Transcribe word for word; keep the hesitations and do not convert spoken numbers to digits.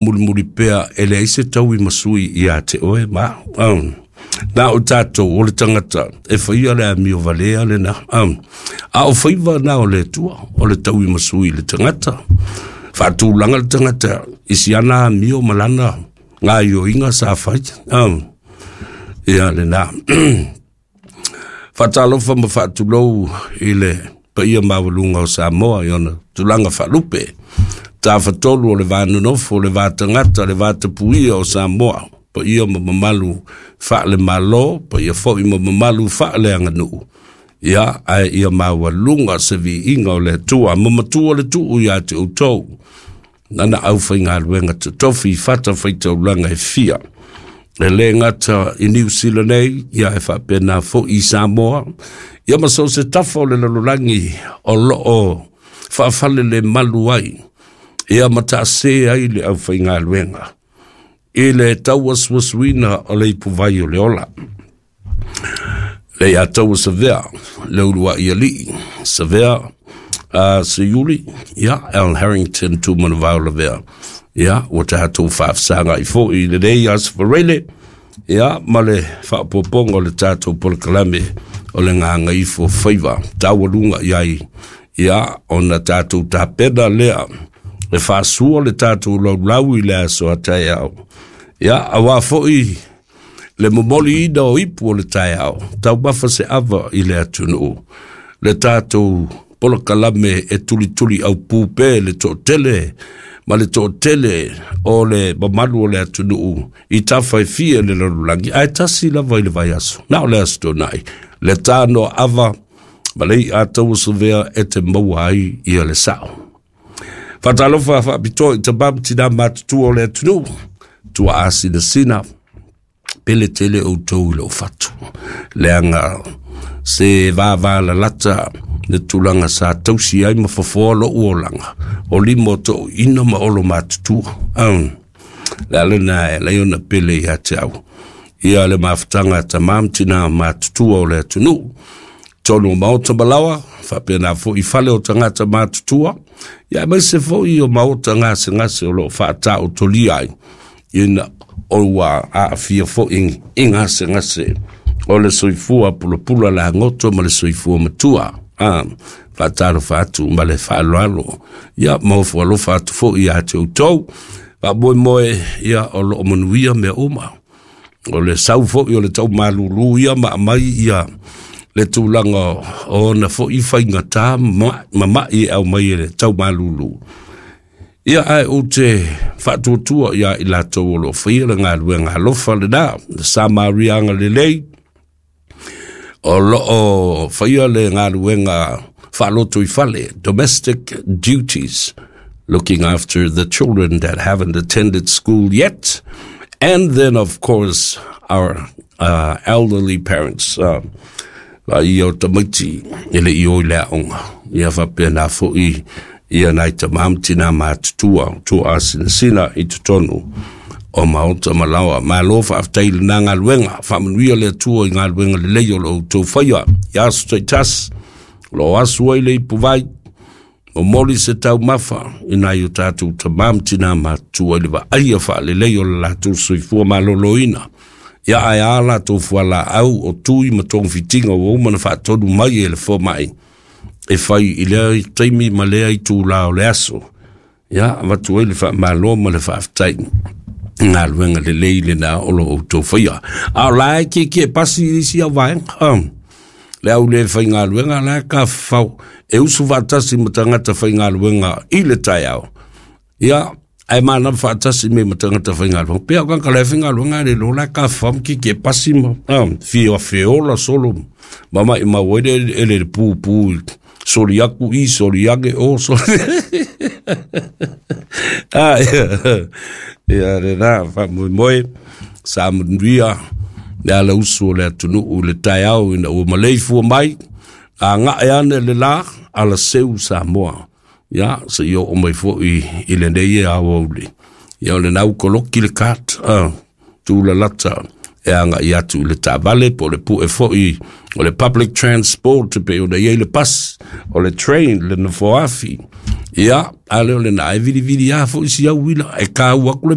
Mulimuli pea e leai se taui ma sui ia te oe ma um, na o tātou o le tagata e faia le amio valea lena um, a o faiva na o le Atua o le taui ma sui le tagata faatulaga le tagata i siana amio ma lana gaioiga sa fai um, ia lena. Faatalofa ma faatulou i le paia maualuga o Samoa i ona tulaga faalupe, tafatolu o le va nonofo, o le va tagata, le vatapuia o Samoa, paia ma mamalu faale-Malo, paia foi ma mamalu faaleaganuu. Ia ae ia maualuga se viiga o le Atua ma matua le tuu iā te outou nana aufaigaluega totofi i fata faitaulaga e fia e lē gata i Niu Sila nei, ia e faapena fo'i i Samoa, ia ma so o se tafa o le lalolagi o loo faafale le malu ai ia ma taasē ai le aufaigaluega i le tauasuasuina o le ipuvai o le ola le ia taua Savea le ulua'i alii Savea uh, Seiuli ia Al Harrington Tumanavao Lavea. Ia ua tatou faafesaga'i fo'i i lenei aso Farele ia ma le faapopoga o le tatou polokalame o le Gagaifo Faiva taualuga i ai ia ona tatou tapena lea e faasua le tatou laulau i le aso a taeao ia auā fo'i le momoliina o ipu o le taeao taumafa se ava i le atunuu le tatou polokalame e tulituli aupū pē le toatele ma le toatele o le mamalu o le atunuu i tafa e fia le lalolagi ae tasi lava i le vaiaso na o le aso Toonai le tanoa ava ma le i'a taua Savea e te maua ai ia le sao. Faatalofa faapitoa i tamā ma tinā matutua o le atunuu tuaa sinasina pele tele outou i lou fatu leaga se vavalalata le tulaga sa tausi ai ma fofoa lo'u olaga o lima o to'uina ma olo matutua um, le alena e lai ona pele iā te au ia le mafutaga a tamā ma tinā matutua o le atunuu tonu o maota malaoa faapena fo'i fale o tagata matutua ia aemaise fo'i o maota gasegase o loo faataotolia ai ina o ua aafia fo'i i gasegase o le soifua pulapula lagoto ma le soifua matua a faatalofa atu ma le faaaloalo ia ma ofo alofa atu fo'i iā te outou faamoemoe ia o loo manuia mea uma o le sau fo'i o le taumalūlū ia ma aumai ia le tulaga o ona fo'i faigatā ma ma'i e aumai e le taumalūlū ia ae ou te faatuatua iā i latou o loo faia le galuega alofa lenā le Samariaga lelei o loo faia le galuega faaloto i fale, domestic duties, looking after the children that haven't attended school yet, and then of course our uh, elderly parents uh, ia o tamaiti e le i o i le aoga ia faapena fo'i ia nai tamā ma tinā matutua tua asinasina i totonu o maota malaoa. Malo faafetai lenā galuega faamanuia le Atua i galuega lelei o lo outou faia i aso taitasi o loo asu ai le ipuvai momoli se taumafa i nai o tatou tamā ma tinā matutua i le vaaia faalelei o le latou soifua malōlōina ia ae a latou fualaau o tui ma togafitiga ua uma na faatonu mai e le fomai e fai i lea taimi ma lea itulā o le aso ia avatu ai le faamālō ma le faafetai galuega lelei lenā o lo outou faia a o la e kiekie pasi isi au vaega um, le au le faigaluega la ka fau e usu faatasi ma tagata faigaluega i le taeao ia ae manava faatasi me ma tagata faigaluega pea o kaka le faigaluega le lo la ka fam ki ke pasi ma um, fia feola solo ma mai ma wele ele le pu pu soli aku i soli age o soli ah ia le na fa moi moi sa manuia le ala usu o le atunuu le taeao ina ua maleifua mai a gae ane le lā ala seu Samoa ia seia oo mai fo'i i lenei e aoauli ia o lenā ua koloki le kat uh, tulalata e e agaʻi atu i le taavale po o le puʻe foʻi o le public transport pe ona i ai le pasi o le train le nofoafi. Ia, a le o lena e vilivili a foʻi si au uila e kāua aku le